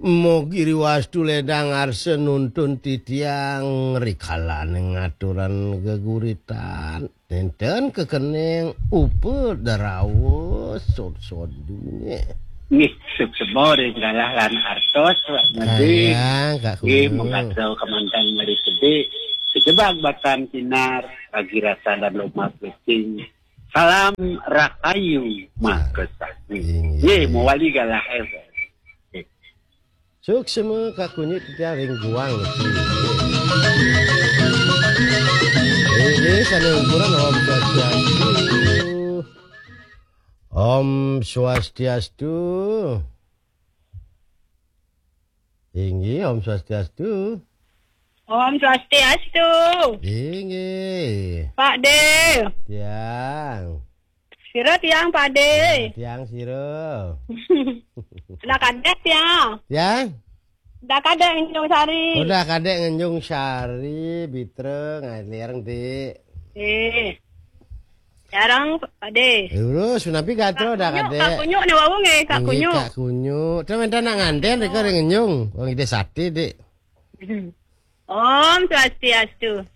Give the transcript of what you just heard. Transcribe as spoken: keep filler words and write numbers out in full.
Mugi riwastu ledang arsa nuntun titiang rikalaning aturan geguritan. Nénten kekening upa darawa sod-sod dunya. Nggih, suksma ring galah lan artos, Pak Medi. Sayang, Kak Nggih, Kuno. Mengkasa kemanten meri kedé. Sejebak batan kinar, bagi rasa dan lomak becing. Salam rahayu, makasami. Inggih. Nggih, mawali galah, eh. Suksma kakunyit titiang ring guang niki. Inggih, sané ungkuran Om Swastiastu. Om Swastiastu. Inggih, Om Swastiastu. Om Swastiastu. Inggih. Pak De. Tiang. Sira tiang, Pak De. Tiang sira. Dah kadek tiang. Tiang? Dah kadek Ngenjung Sari. Udah kadek Ngenjung Sari, Bitra, ngalireng, Dik. Eh. Jarang, Pak De. Eh, urus, napi gatra udah Kunyuk, kadek. Kak Kunyuk né wau nggih, Kak Inggih, Kunyuk. Kak Kunyuk. Terus minta nak nganten, rika ring Ngenjung. Wong ide sate, Dik. Om Swastiastu.